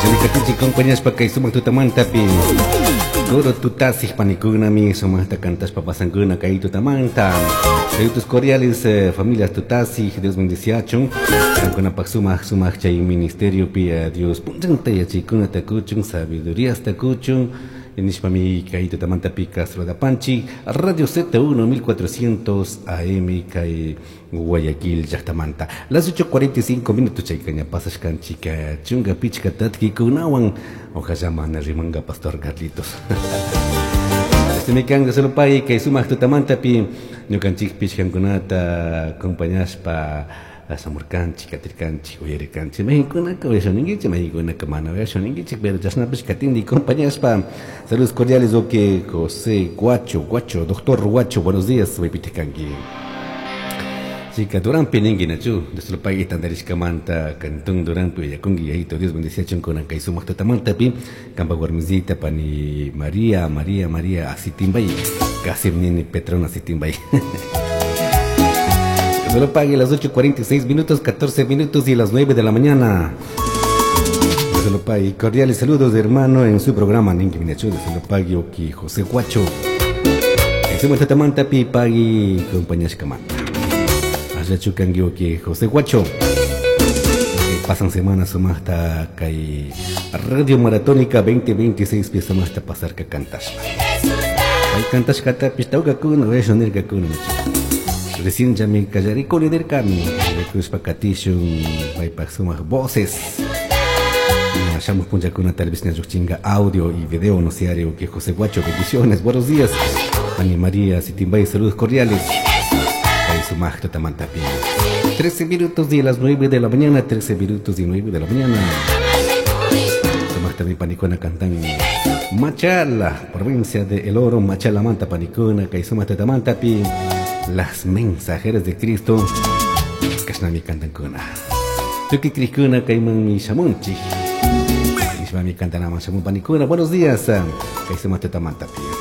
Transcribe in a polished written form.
Katinchik compañashpa kay sumak tutamantapi Coro tutasij panikunami sumaqta cantashpa pasankuna kay tutamanta. Saludos cordiales eh, familias tutasij, Dios bendiciachun. Kankunapaq sumaq sumaq chay ministeriopi eh, Dios punchanta yachaykunata kuchun, sabiduríasta kuchun. Nishpami kay tutamantapi Castro Radio Z1 1400 AM kay Guayaquil llaqtamanta. Las 8:45 minutos chayka ña pasashkanchik chunka pichka tatkikunawan ojalá mana rimanga Pastor Carlitos. Este mi kanga solo pay kay sumaq tutamantapi ñukanchikpish kankunata acompañashpa shamurkanchik, katirkanchik, uyarirkanchik. Mayqinkunaka uyashaninkichik, mayqinkunaka mana uyashaninkichik, pero chashnapish katindi acompañashpa. Saludos cordiales, ok, José Guacho, Guacho, doctor Guacho, buenos días, maypitik kanki. Chica Duranpi ninki nachu, Dios lo pague tantarishkamanta, cantón Duranpi uyakunki, yayito Dios bendiciachun kunan kay sumaq tutamantapi, kampa warmisita pani María, María, María Asitimbay, casi nini Petrona Asitimbay. Dios lo pague las 8:46 minutos, 14 minutos y las 9 de la mañana. Dios lo pague. Cordiales saludos de hermano en su programa Ninki Minachu, Dios lo pague, oki José Guacho. Sumaq tutamantapi pagui compañashkamanta. Allachu kanki oki José Guacho. Pasan semanas sumaqta kay Radio Maratónica 2026 pi sumaqta pasarka cantashpa. Pay cantashkatapish tawkakuna uyasha nirkakuna. Recién ya mi kallarikuni nirkami. Rikushpa katishun paypak sumaq voces. Shamuq punchakuna tal vez ña audio y video no sé que José Guacho, bendiciones, buenos días. Ani María Sitimbay, saludos cordiales. Pay sumaq tutamantapi. 13 minutos de las 9 de la mañana, 13 minutos y 9 de la mañana. Sumaqtami panikuna cantan Machala, provincia de El Oro, Machala Manta panikuna, kay sumaq tutamantapi. Las mensajeras de Cristo, kashnami cantankuna. Tukuy crikuna kaymanmi shamunchik. Nishpami cantanaman shamun panikuna. Buenos días, kay sumaq tutamantapi.